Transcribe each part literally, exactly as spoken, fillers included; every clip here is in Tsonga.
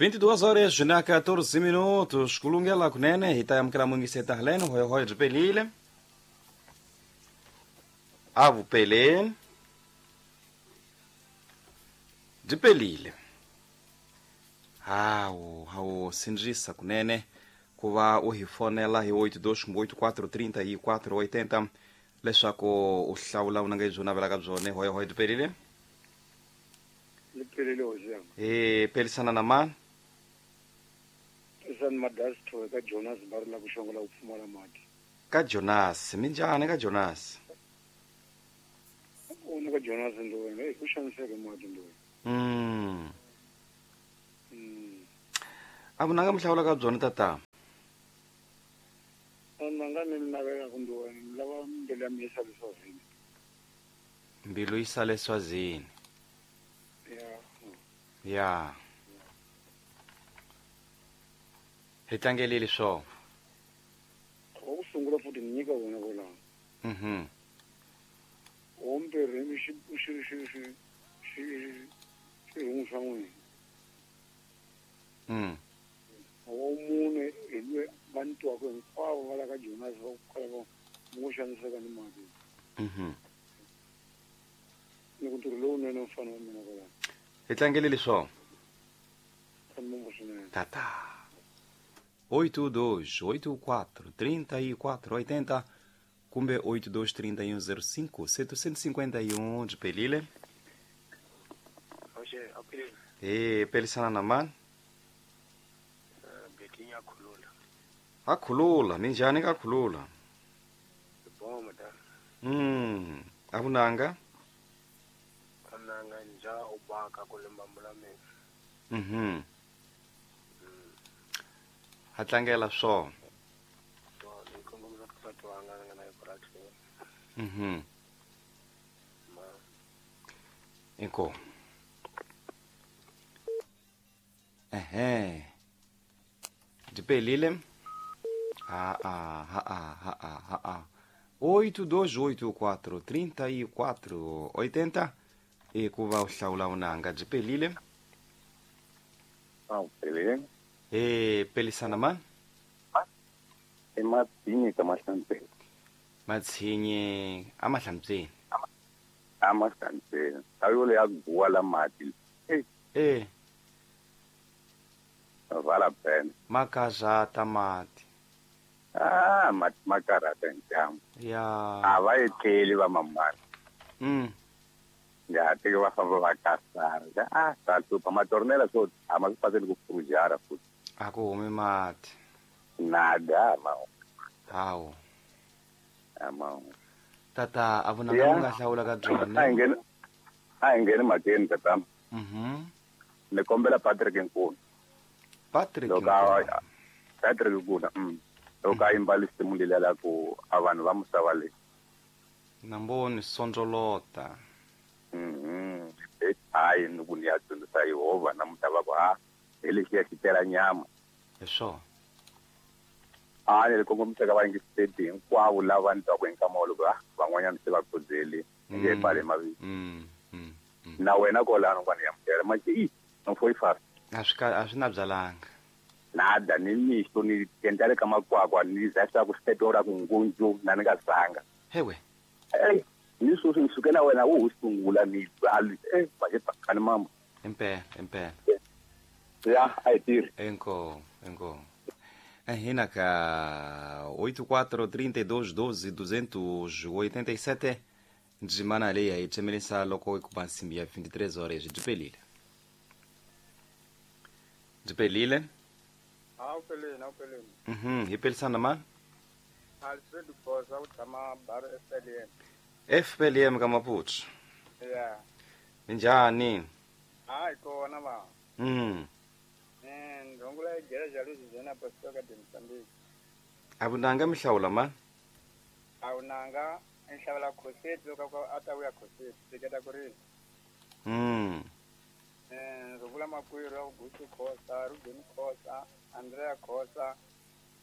vinte e duas horas na quatorze minutos. Kulungela kunene hi ta amukela mungiseta haleno hoyo hoyo byi pelile. A vupeleni. Byi pelile. Hawu, hawu sindzisa kunene ku va u hi fonela hi oito dois oito quatro trinta e quatro oitenta leswaku u hlawula vunanga lebyi u navelaka byona. Hoyo hoyo byi pelile. Ni pelile hosi yanga. E pelisana na mani? Pelisana Madasto ka Jonas Barla ku xongola ku pfumala mati. Ka Jonas, minjhani ka Jonas? Una ka Jonas ndo wena, ku xaniseka mati ndo. Mm. Mm. A vunanga mi hlawula ka byona tata? Nanga ni navela ku ndo wena, ni lava mbilu ya mina yi sale Swazini. Mbilu yi sale Swazini. Ya. Ya. Hi tlangelile swona. Wa ku sungula futhi ni nyika wona kwalaho. Mhm. Wa vumbirhi xi xi xi xi xi xirhungu xa n'wina. Mm. Wa mune hi loyi va ni twaka hinkwavo va la ka Jonas va ku kwala va ngo xaniseka ni mati. Mhm. Ni ku ntirho lowunene mfana wa mina kwalaho. Hi tlangelile swona. Tata. oito dois oito quatro trinta e quatro oitenta kumbe oito dois trinta e um zero cinco setecentos e cinquenta e um de Pelile. E pelisana na mani? Betinha Khulula. A Khulula, minjhani ka Khulula? Bom, madam. Mm, a vunanga? Vunanga nja ubaka ku lemba mina. Mhm. Ha tlangela swona. So, ni kongomisa ka nsati wanga ni nga na epurasini. Mhm. Ma. Inkomu. Ehe. Byi pelile. Ah, ah, ah, ah, ah, ah, ah. oito dois oito quatro trinta e quatro oitenta e ku va u hlawula vunanga byi pelile. Ah, pelile. E pelisana mani? I Matshinyi ka Mahlantseni. Matshinyi a Mahlantseni. A Mahlantseni. A yo le ya guwa la mati. Eh. Eh. Vala pena. Makazata mati. Ah, mati makarata njamu. Ya. A va etleli va mamani. Mm. Ya teke va famba va kasara. Ah, ta hlupha matornela swo a ma swi paseli ku pfujara futhi. A ku humi mati. Nada ma. Hawu. Ama. Tata, a vunanga mi nga hlawula ka byona. A hi ngheni. A hi ngheni mhakeni tata. Mhm. Ni kombela Patrick Nkuna. Patrick Nkuna. Patrick Nkuna. Mm. Loko a yimba lisimu leliya la ku a vanhu va misava leyi. Namboni sondzolota. Mhm. Hayi ni ku ni ya dyondzisa Yehovha namuntlha va ku ha hi lexiya xi tela nyama. Hi swona. A ni kongomisa ka vayingiseri hinkwavo lava ni twaku hi nkama wolowo ah van'wanyana se va khudzeli ni nge pfali mavito. Mm. Mm. Na wena kwalano kwani yamukela manje i no foyi fast. A swi a swi na byalanga. Nada ni mixo ni endla le ka makwakwa ni za swa ku switetela ku ngundzu na ni nga zanga. Hewe. Eh, ni sweswi ni suke na wena wu sungula ni ali eh va pakani mama. Impela, impela. Ya, a hi tirhi. Inkomu, inkomu. Hina ka oito quatro trinta e dois doze duzentos oitenta e sete ndzimana leyi hi tsemelisa loko ku ba nsimbi ya vinte e três horas byi pelile. Byi pelile. A wu peleni, a wu peleni. Mhm, hi pelisana mani? Alfred Khoza u tshama Bar F L M. F L M ka Maputo. Ya. Minjhani? Hayi kona va. Mm. Eh, ndongula igreja Louisiana Apostolic de Mozambique. A vunanga mi hlawula mani? A vunanga ni hlawula Khoseti loko a ta vuya Khoseti, teketa ku ri. Mm. Eh, ndzi vula makwerhu Augusto Khosa, Ruben Khosa, Andrea Khosa,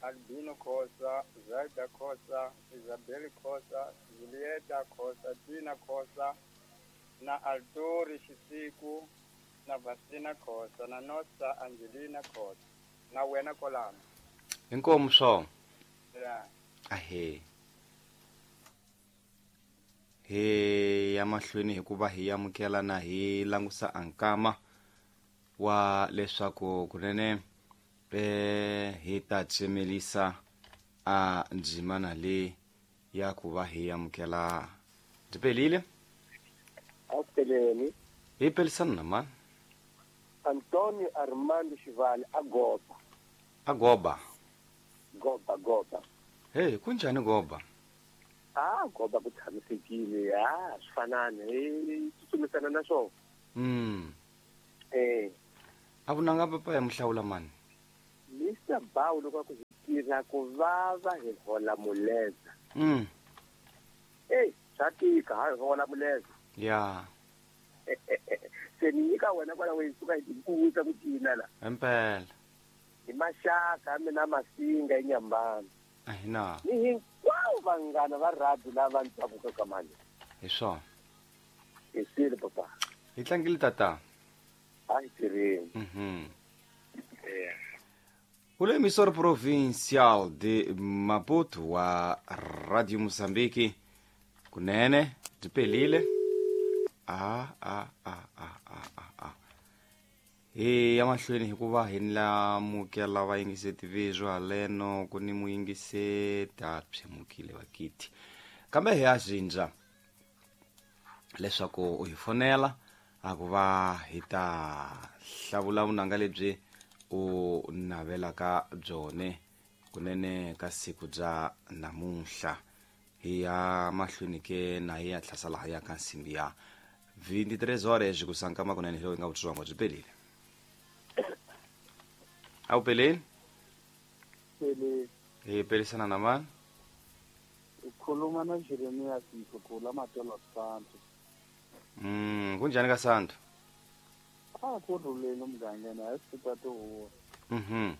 Albino Khosa, Zaida Khosa, Isabel Khosa, Julieta Khosa, Tina Khosa na Altori Xisiku na Vasilina Khosa na Nosa Angelina Khosa na wena kolano. Inkomu swo. Ya. Ahe. He ya mahlweni hikuva hi amukela na hi langusa ankama wa leswaku kunene eh hi ta tsemelisa a ndzimana le ya ku va hi amukela ndipelile Apeleni hi pelisana na mani Antonio Armando Shivali agoba agoba goba goba hey kunjani goba ah goba ku tshamisekile ah swi fanana hi tsutsumisana na swona mm eh a vunanga papa ya muhlawula mani Mister Bawu loko ku tirha ku vava hi hola muleza mm eh swa tika ha hola muleza ya se ni nyika wena kwala we suka hi tikuta ku cina la impela hi maxaka mina masinga enyambana ahina ni hinkwavo vanghana va rhabi lava ndzavuka ka mali hi swona hi swilo papa hi tlangile tata a hi tirheni mhm eh O emissor provincial de Maputo wa Radio Moçambique kunene ndipelile a a a a a a a hi ya mahlweni hikuva hi lamukela vayingiseti vizwa haleno ku ni muyingiseti a pshemukile vakiti kambe hi ya zindza leswaku u hi fonela a ku va hi ta hlavula vunanga lebyi u navelaka byone kunene ka siku bya namuntlha hi ya mahlweni ke na hi ya hlasela ha ya ka nsimbi ya vinte e três horas kusankama kunene hi loyi nga vutsongo byi pelile a wu peleni Pele hi pelisana na mani ukhuluma na Jeremias Mtukula Matolo Santo. mm kunjani ka Santo A ku rhuleni mugangeni a swi ta tihuwa. mhm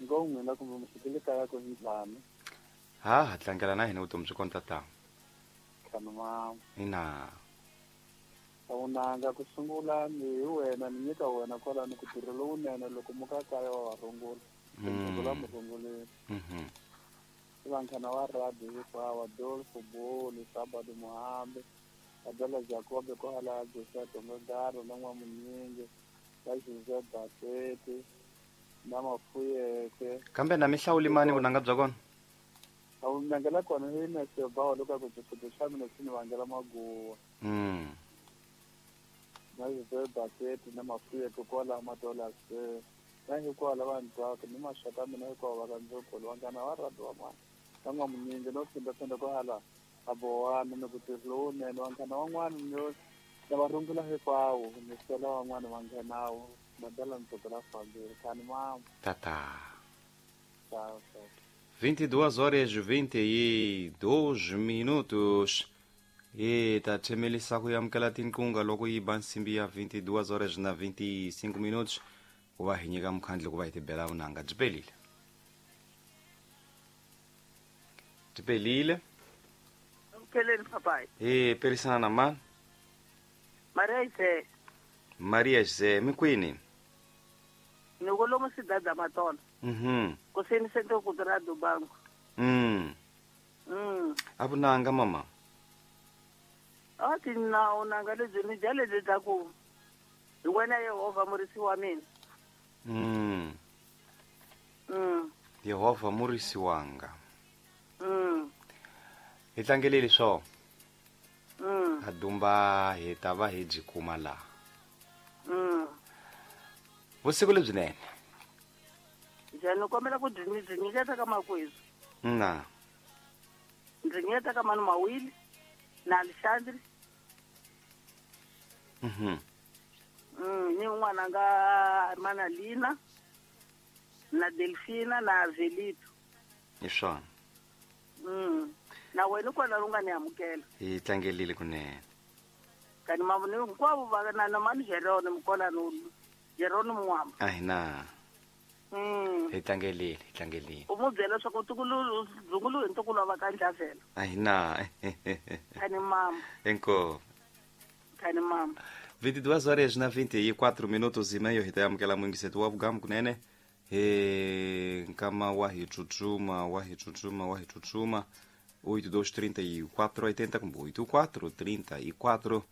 Ngo n'wina kumbe mi fikile kaya ku njhani? ha ha tlangela na hina vutomi byi kona tata Khanu mama. ina Vunanga ku sungula ni hi wena ni nyika wena kwalano ku tirha lowunene loko muka kaya wa wa rungula. Rungula Mm. mi runguleni. mhm Vanghana wa rhabi hinkwavo Adolfo Boli, Sabado Muhambe, Abela Jacobe kwala Joseph Tongogaro na N'wamunyingi, na Joseph Basete na Mafuyeke. kambe na mi hlawuli mani vunanga bya kona A vunanga la kona hi Mr. Bawu loko a ku xifundo xa mina xi ni vangela maguwa. mm Na Joseph Basete na Mafuyeke kwala Matola Square. Na hinkwavo lava ni twaka ni maxaka ya mina hinkwavo va ka Ndzogolo vanghana va rhabi wa mani. Na N'wamunyingi no phindaphinda kwahala a bohana ni ku tirha lowunene vanghana van'wana ni na va rungula hinkwavo ni sela van'wana va nghenawo madala ntsoko la fambile khani mama tata ciao ciao vinte e duas horas vinte e dois minutos e ta tsemelisa ku amukela tinqunga loko yi ba nsimbi ya vinte e duas horas na vinte e cinco minutos ku va hi nyika mukhandlu ku va hi tibela vunanga byi pelile byi pelile Mpheleni papai. hi pelisana na mani Maria Jose, Maria Jose mi kwini ni kolomo sidada matona. mhm Kuseni sento kutura Dubango. mm Mm. a vunanga mama Athi na unanga lebyi ni dya lebyi bya ku hi wena Yehovha murisi wa mina. mm Mm. Yehovha murisi wanga Mm. hi tlangeleli swo Mm. a dumba hi ta va hi byi kuma laha Mm. vusiku lebyinene Njhani ni kombela ku byi byi nyiketa ka makwezu. na Ndzi nyiketa ka Manu Mawili na Alexandre. mhm Mm, ni n'wana nga Manalina na Delfina na Velito. hi swona Mm. Na wena kwala u nga ni amukela. hi tlangelile kunene Kani mavoni hinkwavo va na na mani Jerome Mkolano Jerome Mwamba. a hi na Mm. hi tlangelile hi tlangelile U mu byela leswaku ntukulu dzungulu hi ntukulu wa va ka Ndlavela. a hi na Kani mama, inkomu kani mama. vinte e duas horas na vinte e quatro minutos e meio hi ta amukela muyingiseti wa vugamu kunene hi nkama wa hi tsutsuma wa hi tsutsuma wa hi tsutsuma oito dois trinta e quatro oitenta kumbe oito quatro trinta e quatro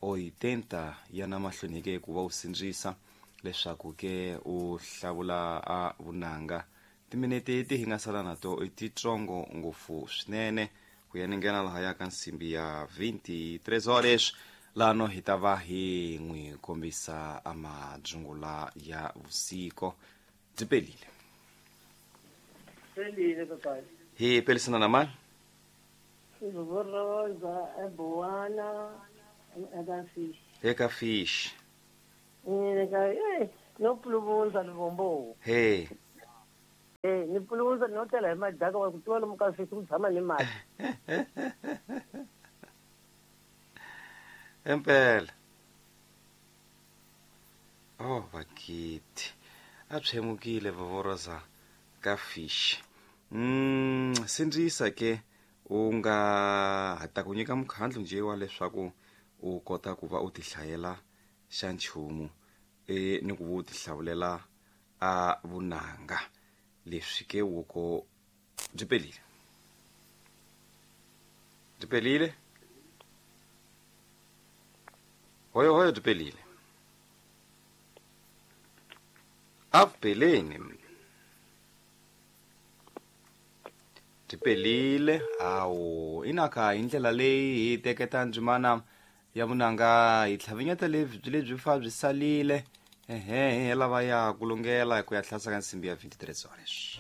oitenta ya na mahlweni ke ku va u sindzisa leswaku ke u hlawula a vunanga. Timinete ti hi nga sala na to i titsongo ngopfu swinene ku ya ni nghena lahaya ka nsimbi ya vinte e três horas lano hi ta va hi n'wi kombisa a madzungula ya vusiko. Byi pelile. Pelile papai. Hi pelisana na mani? Rosa eBowana eka Fish. Eka Fish. Eka eh no puluvundza Luvombo. Hey. Eh ni puluvundza no tela hi madaka wa ku tiva lomu ka Fish ku tshama ni mati. Empela. Oh vakiti. A tshemukile vovoroza ka Fish. Mm sindzisa ke u nga hata ku nyika mukhandlu nje wa leswaku u kota ku va u tihlayela xa nchumu e ni ku va u tihlawulela a vunanga leswi ke woko byi pelile. Byi pelile. Hoyo hoyo byi pelile. A peleni. Byi pelile. Hawu inaka hi ndlela leyi hi teketa ndzimana ya vunanga hi tlhavinyeta lebyi lebyi fa byi salile ehe hi lava ya ku lungela ku ya hlasa ka nsimbi ya vinte e três horas.